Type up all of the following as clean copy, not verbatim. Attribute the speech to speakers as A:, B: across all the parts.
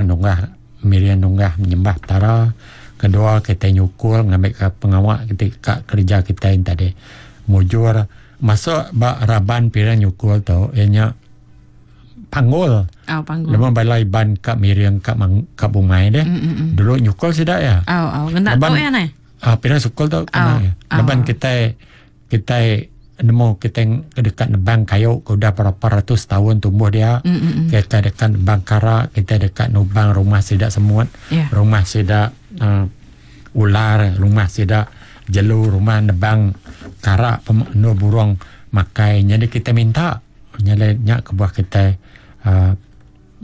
A: nunggah miring nunggah nyembah Petara. Kedua kitai nyukul ngambika pengawa ti ka kereja kitai enti tadi mujur. Masuk ba raban piring nyukul tu iya nya panggul.
B: Oh, panggul.
A: Lebuh bala Iban ka miring ka mang, ka bungai deh. Mm-mm. Dulu nyukul sida iya.
B: Oh, oh. Ngena tu iya neh.
A: Ah, piring sukul tu kena. Oh. Laban oh. kitai kitai nemu kitai deka nebang kayu ke udah berapa ratus taun tumbuh dia. Mm-mm. Kita deka nebang kara, kita deka nubang rumah sida semut, yeah. rumah sida uh, ular, rumah sida jelu, rumah nebang kara endur burung makai. Jadi kita minta nyadi nya kebuah kitai uh,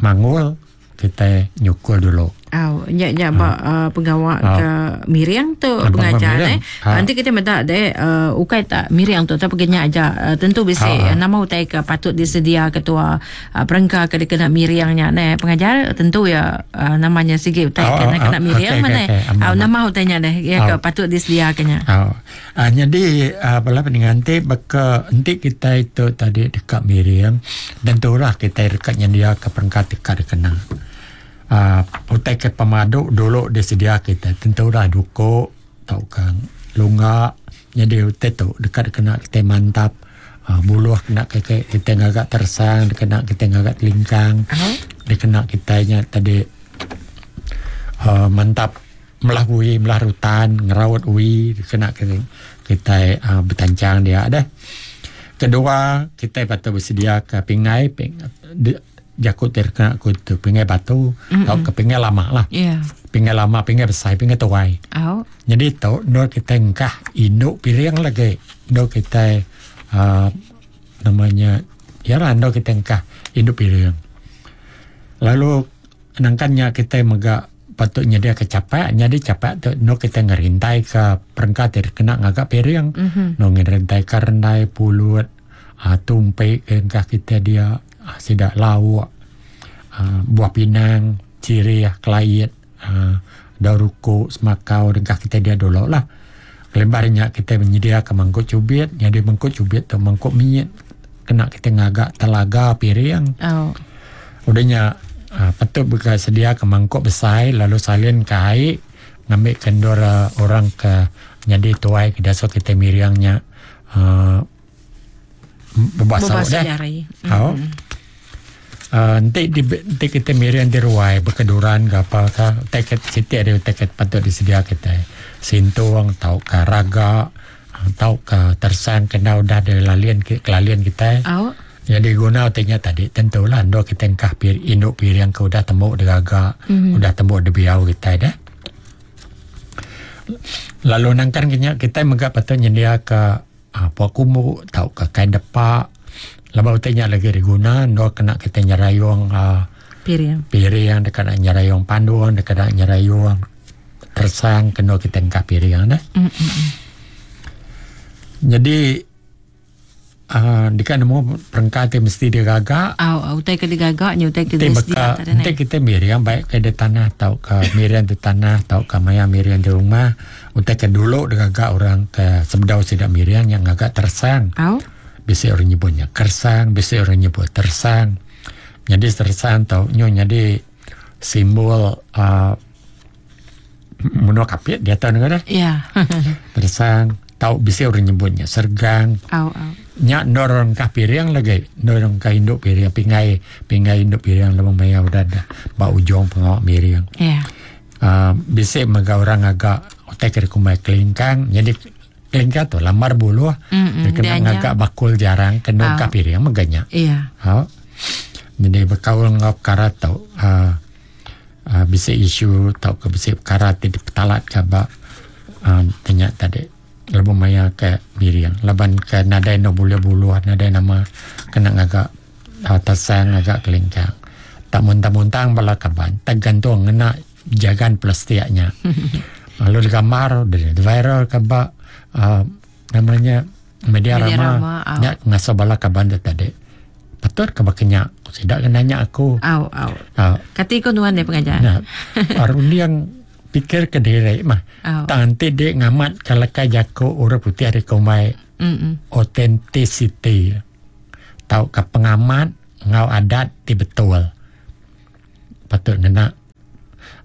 A: manggul kitai nyukul dulu.
B: Au, nya nya ba uh, pengawa uh, ke miring tu uh, pengajar eh. Uh. Nanti kita meda deh uh, ukai tak miring tu tapi nya aja uh, tentu bisi uh. nama utai ke patut disedia ketua uh, perengka ke dikena miring nya neh pengajar tentu ya uh, namanya sigi utai ke uh, kena miring okay, mana. Okay, okay. Au nama utai nya deh ya ke patut disedia ke nya.
A: Au. Uh, nyadi uh, bala peninga enti baka enti kitai tu tadi deka miring tentulah kitai deka nyendiaka perengka ti ka dikena. Uh, utai ke pemadu dulu disedia kitai tentulah duku tauka lunga nyadi utai tu deka dikena kitai mantap uh, buluh kena kitai kitai ngaga teresang dikena kitai ngaga telingkang dikena kitai nya tadi uh, mantap Melah ui, melah rutan, ngeraut ui kena kitai uhh betanchang dia deh. Kedua, kitai patut besedia ke pingai jaku ti kena ku tu pingai batu tauka pingai lama lah. Pingai lama, pingai besai, pingai tuai. Nyadi tu endur kitai engkah indu piring lagi endur kitai uhh nama nya iya lah endur kitai engkah indu piring. Lalu nangkan nya kitai mega patut nyediaka chapak nyadi chapak tu endur kitai ngerintaika perengka ti dikena ngaga piring endur ngerintaika rendai pulut uhh tumpi ke engka kitai dia uhh sida lauk uhh buah pinang chirih kelait uhh daun ruku semakau dengkah kitai dia dulu lah. Kelimpah ari nya kitai menyediaka mangkuk chubit nyadi mangkuk chubit tu mangkuk mit kena kitai ngaga telaga piring. Udah nya uhh patut mega sediaka mangkuk besai lalu salin ka ai ngambika endur orang ke nyadi tuai ke diasuh kitai miring nya uhh bebasuh deh. Au. Uhh enti enti kitai miring di ruai bekeduran ke apa ka utai ke siti ari utai ke patut disedia kitai sintung tauka raga tauka teresang ke enda udah dilalin kelalin kitai. Nyadi guna utai nya tadi tentu lah endur kitai engkah indu piring ke udah tembu digaga udah tembu dibiau kitai deh. Lalu nangkan ke nya kitai mega patut nyendiaka uhh pua kumbu tauka kain depa laban utai nya lagi diguna endur kena kitai nyerayung uhh
B: piring
A: piring deka nak nyerayung pandung deka nak nyerayung teresang ke endur kitai engkah piring neh. Nyadi uhh deka nemu perengka ti mesti digaga.
B: Au utai ke digaga nya utai ke
A: disedia tadi neh. Enti kitai miring baik ke di tanah tauka miring di tanah tauka maya miring di rumah. Utai ke dulu digaga orang ke sebedau sida miring nya ngaga teresang.
B: Au.
A: Bisi orang nyebut nya keresang, bisi orang nyebut teresang. Nyadi teresang tu nyu nyadi simbol uhh menua Kapit diatu ne ngagai.
B: Ya.
A: Teresang tau bisi orang nyebut nya sergang.
B: Au au.
A: Nya endur orang engkah piring lagi. Endur orang engkah indu piring pingai pingai indu piring lebuh maya udah ba ujung pengawa miring.
B: Ya.
A: uhh bisi mega orang ngaga utai ke dikumbai kelingkang nyadi kelingkang tu lambar buluh dikena ngaga bakul jarang ke nungka piring mega nya.
B: Au.
A: Nyadi bekaul enggau pekara tu uhh uhh bisi isu tauka bisi pekara ti dipetalatka ba uhh ti nya tadi lebuh maya ke miring laban ke nadai enda bulih buluh nadai nama kena ngaga Tesang ngaga kelingkang. Tak muntang-muntang bala kaban tergantung ngena jagan plastik nya. Lalu digambar viral ke ba uhh nama nya media rama nya ngasuh bala kaban tu tadi. Patut ke baka nya sida ke nanya aku.
B: Au au. Kati ko nuan deh pengajar.
A: Runding pikir kediri mah. Tang enti di ngamat ka leka jaku orang putih ari kumbai authenticity. Tauka pengamat enggau adat ti betul patut ngena.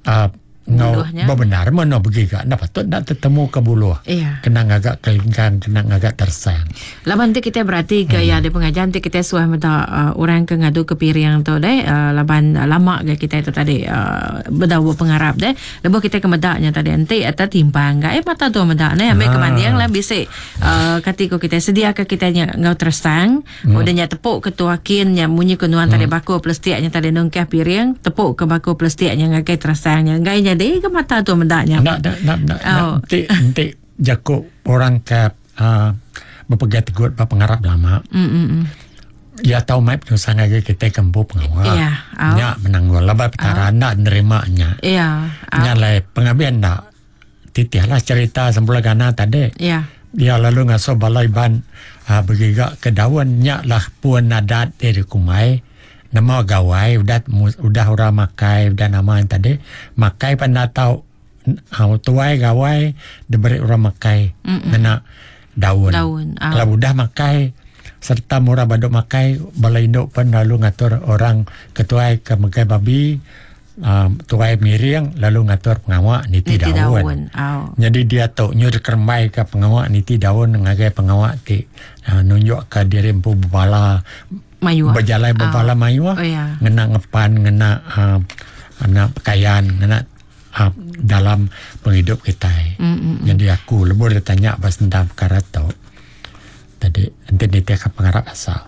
A: uh, ngau bebenar meno begiga enda patut enda tetemu ke buluh.
B: Iya.
A: Kena ngaga kelingkang, kena ngaga tersang.
B: Laban ti kitai berati ke iya di pengajar ti kitai suah meda uh, orang ke ngadu ke piring tu deh uh, laban uh, lama ga kitai tu tadi uh, bedau berpengarap deh. Lebuh kitai ke meda nya tadi enti atau timpang ga eh mata tu meda neh ambi ke banding lah bisi uh, kati ko kitai sedia ke kitai nya enggau tersang. Udah nya tepuk ke tuakin nya munyi ke nuan tadi bakul plastik nya tadi nungkah piring tepuk ke bakul plastik nya ngagai terasang nya enggai nyadi ke mata tu meda nya.
A: Enda enda enda enda oh. enti enti jaku orang ke uh, bepegai tegut ba pengarap lama.
B: Mm -mm.
A: Ya tau mai penusah ngagai kita ke empu pengawa.
B: Ya,
A: oh. Nya menanggul laban petara oh. enda nerima nya.
B: Ya.
A: Oh. Nya lai pengabis enda Titihlah cerita Sempula Gana tadi.
B: Ya.
A: Dia lalu ngasuh bala Iban uh, begiga ke daun nya lah pun adat ti dikumbai nama gawai udah udah orang makai udah nama yang tadi makai pan enda tau uh, tuai gawai diberi orang makai ngena daun.
B: Daun.
A: Uh. Kalau udah makai serta murah badu makai bala indu pun lalu ngatur orang ketuai ke megai babi Tuai miring lalu ngatur pengawa niti, niti daun.
B: daun. Oh.
A: Nyadi diatu nyu dikerembai ka pengawa niti daun ngagai pengawa ti uh, nunjuk ka diri empu bebala
B: mayuh.
A: Bejalai bebala
B: oh.
A: mayuh.
B: Oh, yeah.
A: Ngena ngepan, ngena uh, ngena pakaian, ngena uh, dalam pengidup kitai.
B: Mm-mm.
A: Jadi aku lebuh ditanya ba tentang perkara tu. Tadi enti nitih ka pengarap asal.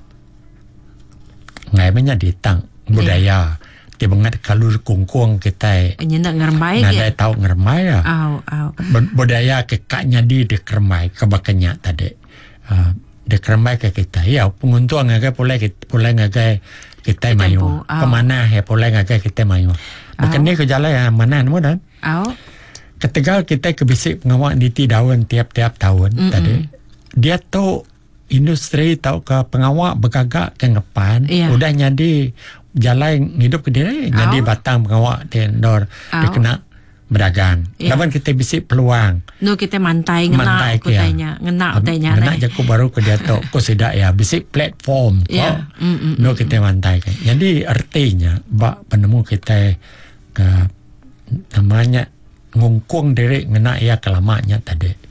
A: Ngai meh nyadi tang budaya ti bengat kalu kungkung kitai.
B: Nyenda ngerembai
A: ke. Nadai tau ngerembai ah.
B: Au au.
A: Budaya ke ka nyadi dikerembai ke baka nya tadi. Uh, dikerembai ke kitai. Ya penguntung ngagai pulai pulai ngagai kitai mayuh. Pemanah ya pulai ngagai kitai mayuh. Baka ni ke jalai ah manah nemu dah.
B: Au.
A: Ketegal kitai ke bisi pengawa niti daun tiap-tiap taun
B: Mm-mm.
A: tadi. Diatu industri tauka pengawa begaga ke ngepan
B: yeah.
A: udah nyadi jalai ngidup ke diri oh. nyadi batang pengawa ti endor
B: oh.
A: dikena berdagang.
B: Yeah.
A: Laban kita bisi peluang.
B: Nu kita mantai ngena
A: Mantai
B: ku
A: ke ya.
B: tanya, ngena utai nya.
A: Ngena jaku baru ke diatu ku sida ya bisi platform ko.
B: Yeah. Mm, mm,
A: Nu kita mantai ke. Jadi artinya ba penemu kita ke namanya ngungkung diri ngena iya ke lama nya tadi.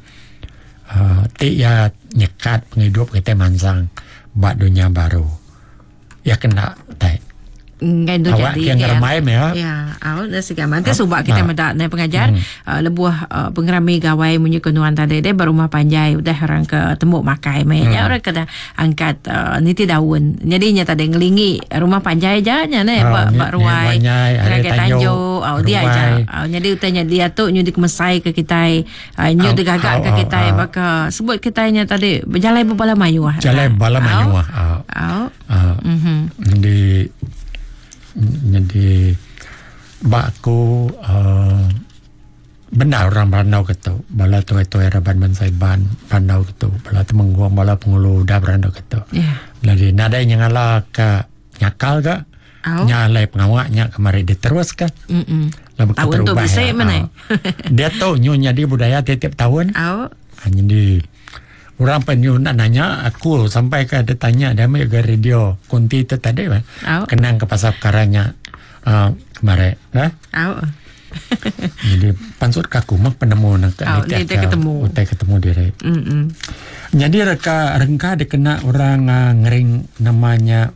A: Uh, ti iya nyekat pengidup kitai mansang ba dunya baru. Iya kena tai.
B: Ngai tu
A: Awak
B: jadi
A: ke ngeremai meh ya.
B: Ya, au dah siga manti suba kita
A: Ah.
B: meda nai pengajar uh, lebuh uh, pengerami gawai munyi ke nuan tadi deh berumah panjai udah orang ke tembuk makai meh. Ya orang ke dah angkat uh, niti daun. Jadi nya tadi ngelingi rumah panjai aja nya ne
A: Ah,
B: ba
A: ni-
B: ba
A: ni
B: ruai.
A: panjai, hari
B: Ngagai
A: tanjung,
B: tanjung, au dia
A: ruai.
B: aja. Au jadi utai nya dia tu nyu dikemesai ke kitai Uh, nyu digaga ke kitai baka sebut kitai nya tadi bejalai bebala mayuh.
A: Jalai bala mayuh.
B: Au.
A: Au.
B: Mhm.
A: Jadi jadi ba aku uh, benar orang berandau ke tu. Bala tuai-tuai raban bansa Iban berandau ke tu. Bala temenggung, bala pengulu udah berandau ke tu.
B: Ya.
A: Jadi nadai nyengala ke nyakal ke.
B: Au.
A: Nya alai pengawa nya kemari diteruska.
B: Mm.
A: Lalu
B: Taun tu
A: keterubah
B: bisi
A: ya.
B: meh.
A: Ah. Dia tu nyu nyadi budaya tiap-tiap tahun.
B: Au.
A: Ha, jadi orang pen nyu nak nanya aku sampai ke ada tanya dia ambil ke radio konti tu tadi bah.
B: Au.
A: Kenang ke pasal perkara nya uh, kemarin. Eh?
B: Au.
A: Jadi pansut ke aku mah penemu nak
B: Au, ni
A: nitih
B: utai ketemu.
A: Utai ketemu diri.
B: Mm.
A: Jadi reka rengka dikena orang uh, ngering namanya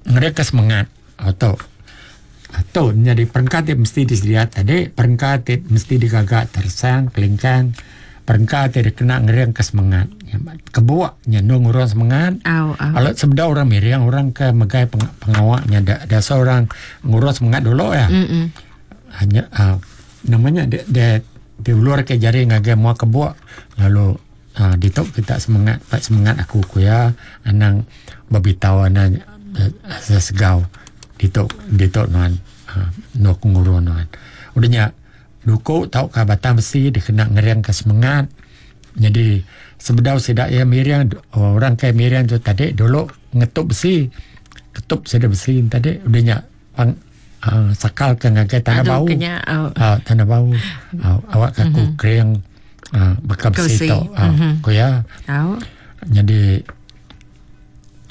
A: ngering ke semangat atau atau jadi perengka ti mesti disedia tadi perengka ti mesti digaga tersang kelingkang perengka ti dikena ngering ke semangat kebuak nya nung orang semangat
B: Au au.
A: Alat sebedau orang miring orang ke megai peng, pengawaknya da, da seorang ngurus semangat dulu ya.
B: Mm.
A: Hanya uh, namanya dia dia diulur ke jari ngagai mua kebuak lalu uh, ditok kita semangat pak semangat aku ku ya anang babitau anang uh, sesegau ditok ditok nuan uh, no aku nguru nuan. Udahnya duku tau ka batang besi dikena ngering ke semangat. Jadi sebedau sidak ya miring orang ke miring tu tadi dulu ngetup besi. Ketup sida besi tadi udahnya pang uh, sakal ke ngagai tanah
B: Aduh
A: bau.
B: kenya au.
A: Uh, tanah bau. Uh, awak aku kering uh, baka besi
B: Besi.
A: tu. Uh, Ku ya.
B: Au.
A: Jadi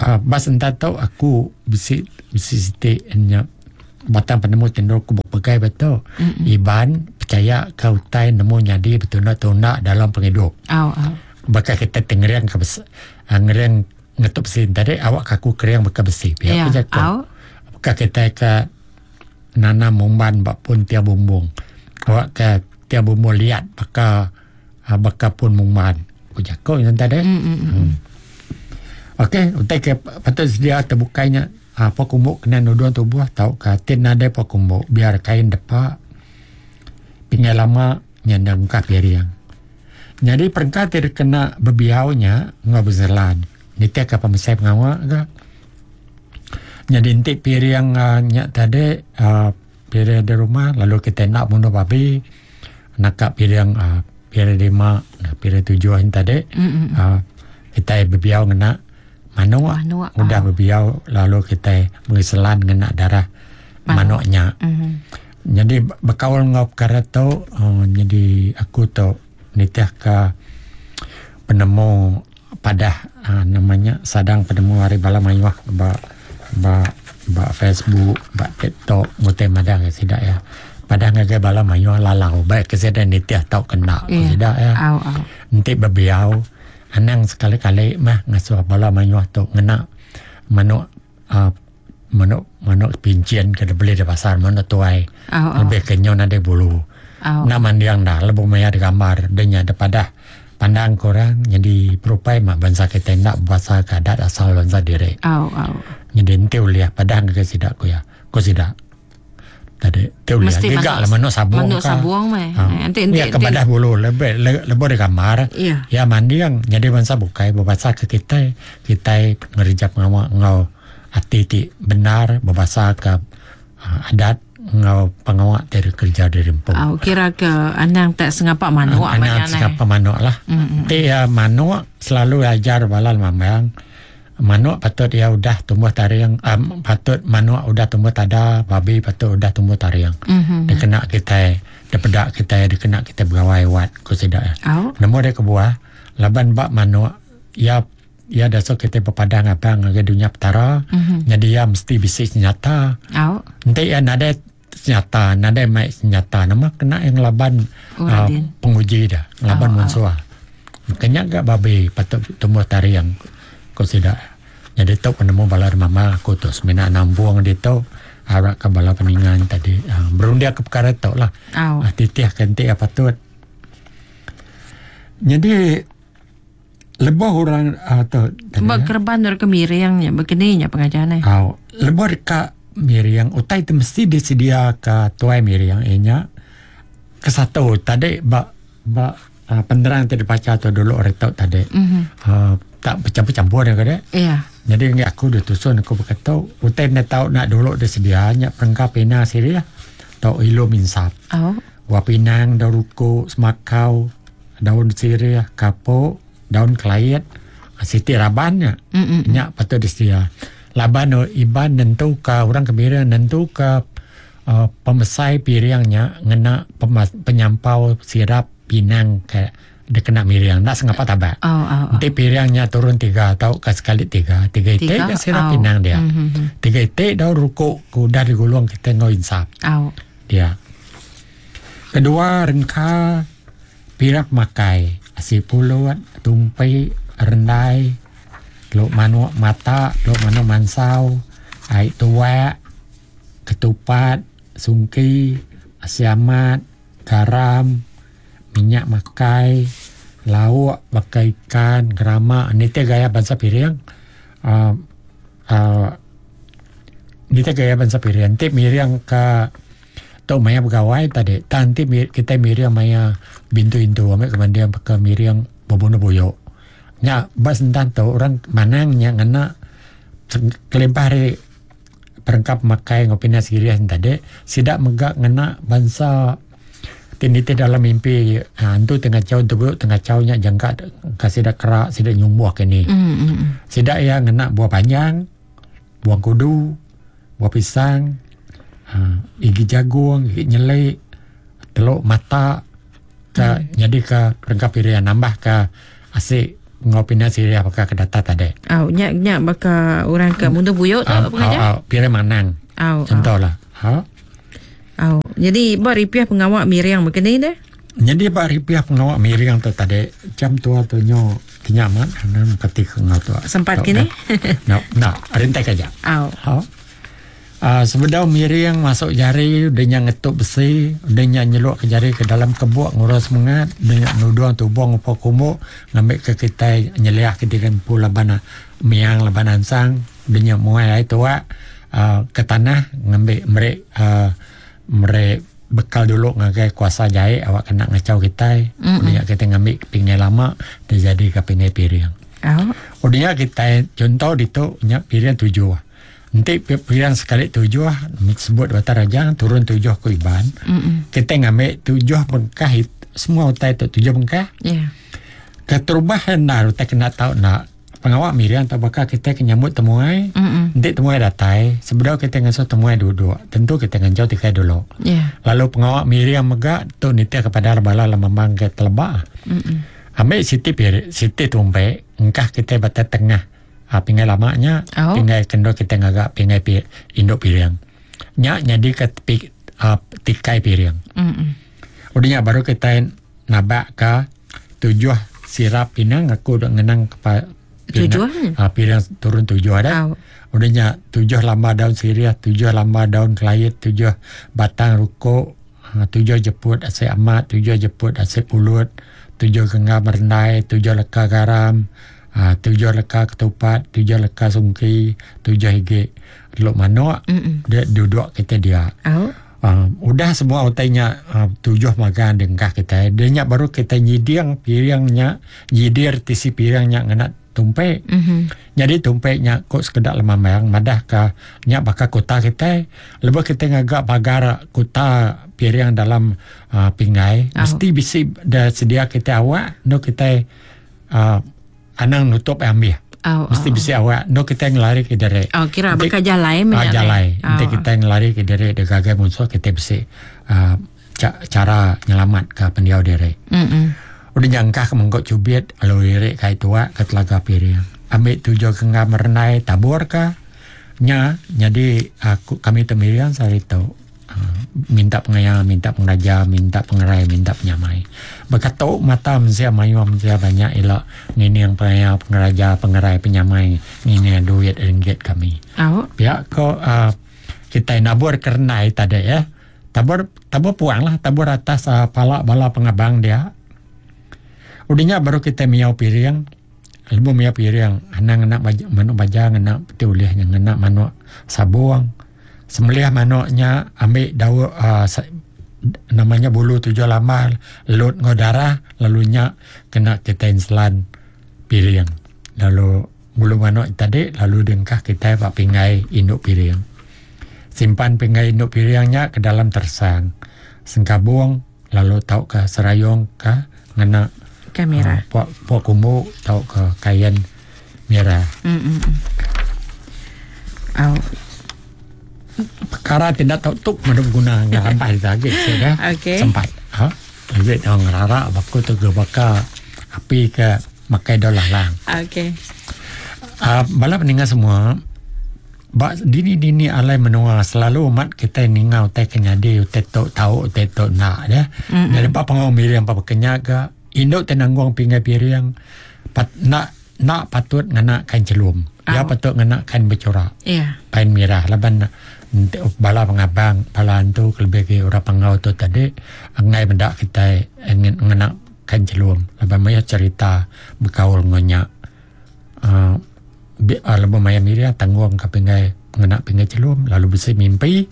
A: uh, bas entah tau aku bisi bisi siti nya. batang penemu ti endur ku bepegai ba tu. Iban pechaya ke utai nemu nyadi betunda-tunda dalam pengidup.
B: Au au.
A: Baka kita ti ngering ke besi ngering ngetu besi tadi awak ke aku kering baka besi pia
B: ku
A: jaku. Baka kitai ke nanam umban ba pun tiang bumbung awak ke tiang bumbung liat baka baka pun mumban ku jaku nya tadi. Okey utai ke patut sedia tebukai nya pua kumbu kena nudung tubuh tauka ti nadai pua kumbu biar kain depa pinggai lama nya enda muka piring. Nyadi perengka ti dikena bebiau nya enggau bezelan nitihka pemesai pengawa ga. Nyadi enti piring uhh nya tadi uhh piring di rumah lalu kitai enda munuh babi naka piring uhh piring lima piring tujuh nya tadi uhh kitai bebiau ngena manuk udah bebiau lalu kitai meri selan ngena darah manuk nya. Nyadi bekaul enggau pekara tu uhh nyadi aku tu nitihka penemu padah uhh nama nya sadang penemu ari bala mayuh ba ba ba Facebook ba TikTok ngutai madah ngagai sida iya. Padah ngagai bala mayuh lalau baik ke sida nitih tauka enda ku sida iya. Enti bebiau anang sekali kali mah ngasuh bala mayuh tu ngena manuk uhh Manuk manuk pinchin ke dibeli da pasar manuk tuai lebih ke nyau nadai bulu. Enda manding da lebuh maya da gambar da nya da padah pandang ke orang nyadi berupai mah bansa kitai enda bebasa ke adat asal bansa diri. Nyadi enti ulih padah ngagai sida ku iya ku sida. Tadi ti ulih
B: Mesti
A: giga
B: manuk
A: lah manuk sabung
B: manuk
A: ka.
B: sabung meh.
A: Ha.
B: Enti enti
A: Iya ke
B: enti
A: badah bulu lebih le, lebuh di gambar
B: Iya.
A: iya manding nyadi bansa bukai bebasa ke kitai kitai ngereja pengawa enggau ati ti bendar bebasa ke uh, adat enggau pengawa ti dikereja diri empu.
B: Au kira ke anang tak sengapa manuk
A: Anang
B: maya neh.
A: sengapa manuk lah.
B: Mm-mm.
A: Ti ya manuk selalu ajar bala lemambang Manuk patut iya udah tumbuh taring um patut manuk udah tumbuh tada, babi patut udah tumbuh taring.
B: Mm-hmm.
A: Dikena kitai dipeda kitai dikena kitai begawai wat ku sida iya.
B: Au.
A: Nemu deh kebuah laban ba manuk iya iya dasuh kitai bepadah ngabang ngagai dunya petara
B: Mm-hmm.
A: nyadi iya mesti bisi senyata.
B: Au.
A: Enti iya nadai senyata nadai mai senyata nama kena iya ngelaban
B: Oh,
A: uh,
B: Radin.
A: penguji dah ngelaban
B: Oh, oh.
A: munsuh. Kenya ga babi patut tumbuh taring ku sida. Nyadi tu penemu bala mama aku tu semina nampung ditu arap ka bala peninga nya tadi uhh berunding ka pekara tu lah.
B: Au.
A: Uhh titih ka enti iya patut. Nyadi lebuh orang uhh tu tadi
B: Ba kereban deka miring nya bekeni nya pengajar neh.
A: Au lebuh deka miring utai ti mesti disedia ka tuai miring iya nya kesatu tadi ba ba Penerang ti dibacha tu dulu ari tu tadi uhh tak bechampur-champur ne kadi.
B: Iya.
A: Nyadi enggi aku ditusun aku baka tu utai enda tau nak dulu disedia nya perengka pina sirih tau ilum insap.
B: Au.
A: Buah pinang, daun ruku, semakau, daun sirih, kapok, daun kelait siti raban nya. Nya patut disedia. Laban Iban nentuka orang ke miring nentuka uhh pemesai piring nya ngena penyampau sirap pinang ke dikena miring enda sengapa tabak.
B: Oh, oh, oh.
A: Enti piring nya turun tiga tauka sekali tiga, tiga iti
B: Tiga,
A: ga sirap
B: oh.
A: pinang dia.
B: Mm-hmm.
A: Tiga iti daun rukuk ke udah digulung kitai enggau insap.
B: Oh.
A: Dia. Kedua rengka piring pemakai, asi pulut, tumpi, rendai, teluk manuk mata, teluk manuk mansau, ai tuak, ketupat, sungki, asi amat, garam, minyak makai, lauk baka ikan, gerama nitih gaya bansa piring uhh uhh nitih gaya bansa piring enti miring ka tu maya begawai tadi tang enti kitai miring maya bintu intu ambi ke banding baka miring bebunuh buyu. Nya ba sentan tu orang manang nya ngena kelimpah ari perengka pemakai enggau pindah sirih ne tadi sida mega ngena bansa ti nitih dalam mimpi antu ti ngachau entu ti ngachau nya jangka ka sida kera sida nyumbuh ke ni. Sida iya ngena buah panjang, buah kudu, buah pisang uhh igi jagung, igi nyeli, teluk mata ka nyadika perengka piring nambah ka asi enggau pindah sirih baka ke data tadi.
B: Au nya nya baka orang ke munduh buyu tu
A: Au
B: pengajar.
A: au piring manang.
B: Au.
A: Contoh lah. Ha.
B: Au. Jadi ba ripih pengawa miring mega ni deh.
A: Nyadi ba ripih pengawa miring tu tadi jam tua tu nyu kinya amat anang kati ke enggau tu.
B: Sempat kini?
A: No, no, rintai aja.
B: Au.
A: Ha. Sebedau miring masuk jari udah nya ngetup besi, udah nya nyeluk ke jari ke dalam kebuk ngurus semengat, udah nya nudung tubuh ngupa kumbu ngambika kitai nyeliah ke diri empu laban miang laban ansang, udah nya muai ai tuak ke tanah ngambi meri meri bekal dulu ngagai kuasa jai awak kena ngachau kitai, udah nya kitai ngambi pingai lama dijadika pingai piring. Udah nya kitai chunto ditu nya piring tujuh. Enti piring sekali tujuh sebut Batang Rajang turun tujuh ku Iban. Kitai ngambi tujuh bengkah semua utai tu tujuh bengkah.
B: Yeah.
A: Keterubah endar utai kena tau enda pengawa miring tau baka kitai ke nyambut temuai. Enti temuai datai sebedau kitai ngasuh temuai duduk tentu kitai nganjau tikai dulu.
B: Yeah.
A: Lalu pengawa miring mega tu nitih kepada bala lemambang ke teleba. Ambi siti piring siti tumpek engkah kitai batang tengah. Ha, pingai lama nya
B: oh.
A: Pingai kendo kita ngaga pingai pi, induk piring. Nya nyadi ke pi, uh, tikai piring.
B: Mm-mm.
A: Udah nya baru kita nabak ke tujuh sirap pinang aku udah ngenang ke
B: tujuh
A: uh, piring turun tujuh ada.
B: Oh.
A: Udah nya tujuh lamba daun sirih, tujuh lamba daun kelait, tujuh batang rukuk, tujuh jeput asai amat, tujuh jeput asai pulut, tujuh genggam rendai, tujuh leka garam, tujuh leka ketupat, tujuh leka sungki, tujuh igi teluk manuk dia duduk kita dia. Udah semua utai nya tujuh magang dengkah kita. Dia nya baru kita nyiding piring nya, nyidir tisi piring nya ngena tumpek. Jadi tumpek nya ko sekeda lemambang madah ka nya baka kuta kita. Lebuh kita ngaga pagar kuta piring dalam pinggai, mesti bisi dah sedia kita awak no kita anang nutup ambih. Mesti bisi awak no kita ngelari ke diri.
B: Oh, kira baka jalai
A: uh, jalai. Enti kita ngelari ke diri de gagai munsuh kita bisi cara nyelamat ke pendiau diri. Udah nyangkah ke mengkok cubit lalu lirik kai tuak ke telaga piring. Ambil tujuh genggam renai tabur ke nya jadi aku kami tu miriang sehari tu. Minta pengaya, minta pengeraja, minta pengerai, minta penyamai. Bekatuk mata mensia mayuh mensia banyak ila ngining pengaya, pengeraja, pengerai, penyamai ngining duit ringgit kami. Pia ko kitai nabur ke renai tadi ya. Tabur tabur puang lah, tabur atas pala bala pengabang dia. Udah nya baru kitai miau piring. Lebuh miau piring, anang ngena manuk baja ngena peti ulih nya ngena manuk sabung. Sembelih manuk nya ambi daun uhh nama nya bulu tujuh lambar lut enggau darah lalu nya kena kitai enselan piring lalu bulu manuk tadi lalu diengkah kitai ba pinggai indu piring. Simpan pinggai indu piring nya ke dalam teresang sengkabung lalu tauka serayung ka ngena
B: Kain merah.
A: Pua pua kumbu tauka kain merah.
B: Au.
A: Perkara ti enda tau tu meda beguna enggau rambai agi sida.
B: Okey.
A: Sempat. Ha. Agi tau ngerara ba ku tu baka api ke makai daun lalang.
B: Okey.
A: Bala peninga semua Ba dini-dini alai menua selalu amat kitai ninga utai ke nyadi utai tu tau utai tu enda ya. Nyadi ba pengawa miring ba baka nya ga indu ti nanggung pinggai piring pat enda enda patut ngena kain chelum. Iya patut ngena kain bechura. Kain mirah laban enti bala pengabang bala antu kelebih agi orang panggau tu tadi enggai meda kitai ngena kain chelum laban mayuh cherita bekaul enggau nya. uhh Lebuh maya mirih tanggung ka pinggai ngena pinggai chelum lalu bisi mimpi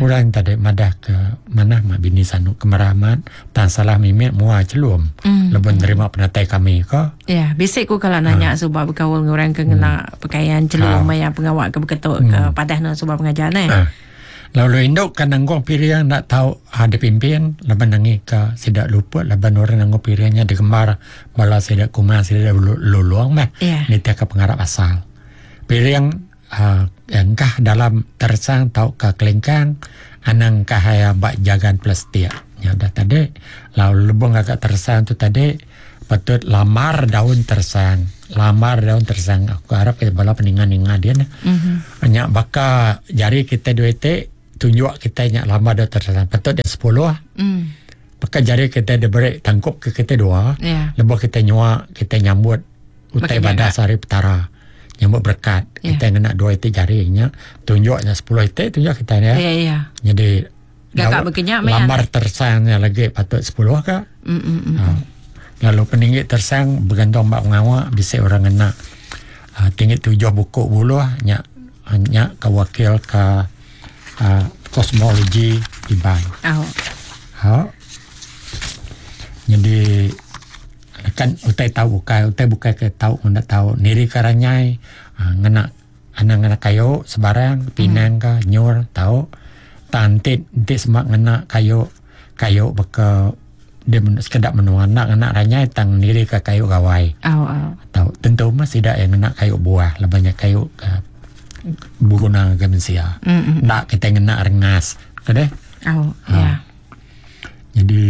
A: orang tadi madah ke manah mah bini sanu ke merah amat tang salah mimit mua chelum lebuh nerima penatai kami ko.
B: Ya bisi ku kala nanya suba bekaul enggau orang ke ngena pakaian chelum maya pengawa ke beketu ke padah ne suba pengajar neh.
A: Lalu indu ke nanggung piring enda tau dipimpin laban nangi ka sida luput laban orang nanggung piring nya digembar bala sida kumang sida lulong meh nitih ka pengarap asal. Piring uhh engkah dalam teresang tauka kelingkang anang engkah iya ba jagan plastik. Nya udah tadi lalu lebuh ngaga teresang tu tadi patut lamar daun teresang. Lamar daun teresang aku arap bala peninga ninga din. Nya baka jari kitai dua iti. tunjuk kita nya lama dah tersang. Patut dia 10. Pakai jari kita diberi tangkup ke kita dua. Lebuh kita nyua, kita nyambut utai badas hari petara. Nyambut berkat. Kita ngena dua iti jari nya. Tunjuknya 10 iti tunjuk kita ya. Jadi
B: gagak bekenyak
A: lambar tersangnya lagi patut 10 ke. Lalu peninggi tersang bergantung bak pengawak bisa orang ngena tinggi 7 buku buluh nya nya ke wakil ke kosmologi Iban. Jadi kan utai tahu bukai, utai bukai ke tahu ngena tahu niri karanyai ngena anang ngena kayu sebarang pinang ke nyur tahu tantit enti semak ngena kayu kayu beka dia sekedap menua nak ngena ranyai tang niri ke kayu gawai. Tahu tentu mah tidak yang ngena kayu buah lah banyak kayu ke berguna ke manusia. Nak kita ngena rengas ke deh. Jadi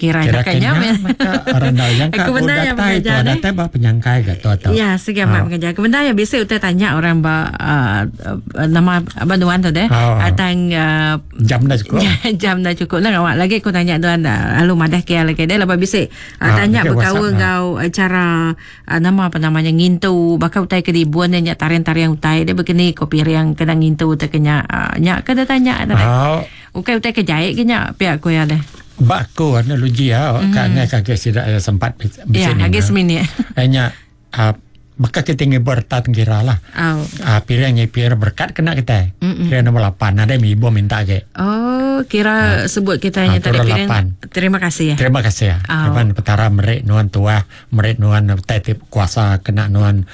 B: kira kira
A: maka orang dah yang ka datai tu datai ba penyangkai ke tu atau
B: ya segamat pengajar kebenar ya biasa utai tanya orang ba nama banduan tu deh atang
A: jam dah cukup
B: jam dah cukup lah awak lagi aku tanya tuan lalu madah ke lagi deh lepas bisa tanya berkaul ngau cara nama apa namanya ngintu bakal utai ke dibuan nya tarian-tarian utai dia begini kopi riang kena ngintu terkena nya ke tanya ukai utai ke jahit ke nya pihak ku ya deh.
A: Bak aku analogi ya kan kaki sidak sempat
B: ya lagi seminit.
A: Hanya maka kita ngibur tat kira lah. Piring nyipir berkat kena kita. Piring nombor 8 ada ibu minta ke.
B: Oh, kira sebut kita hanya tadi piring. Terima kasih ya.
A: Terima kasih ya. Depan petara merik nuan tua, merik nuan titip kuasa kena nuan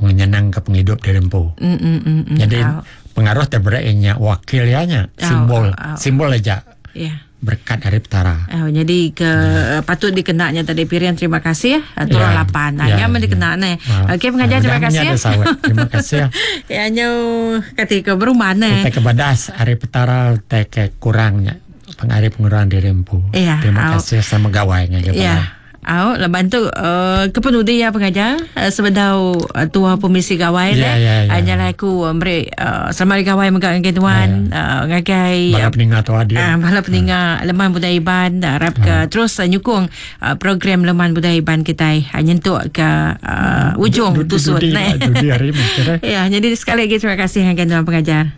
A: menyenang ke penghidup diri empu. Jadi pengaruh terbereknya wakil ya nya simbol simbol aja.
B: Ya.
A: Berkat dari petara.
B: Jadi ke patut dikenaknya tadi piring terima kasih ya. Turun 8. Hanya ya, dikenak nih. Okey pengajar terima kasih.
A: Ya. Terima kasih.
B: Ya nyo ketika berumah nih.
A: Kita kebadas hari petara te kurangnya pengari pengurang diri empu.
B: Ya,
A: terima kasih sama gawainya.
B: Ya. Au, lepas tu kepenudi ya pengajar sebedau tua pemisi gawai deh. Anyalah aku beri selamat hari gawai mega ngagai tuan ngagai
A: bala peninga tua dia.
B: Bala peninga Leman Budaya Iban harap ke terus nyukung program Leman Budaya Iban kita nyentuk ke ujung tusut.
A: Dudi hari
B: Ya, jadi sekali lagi terima kasih ngagai tuan pengajar.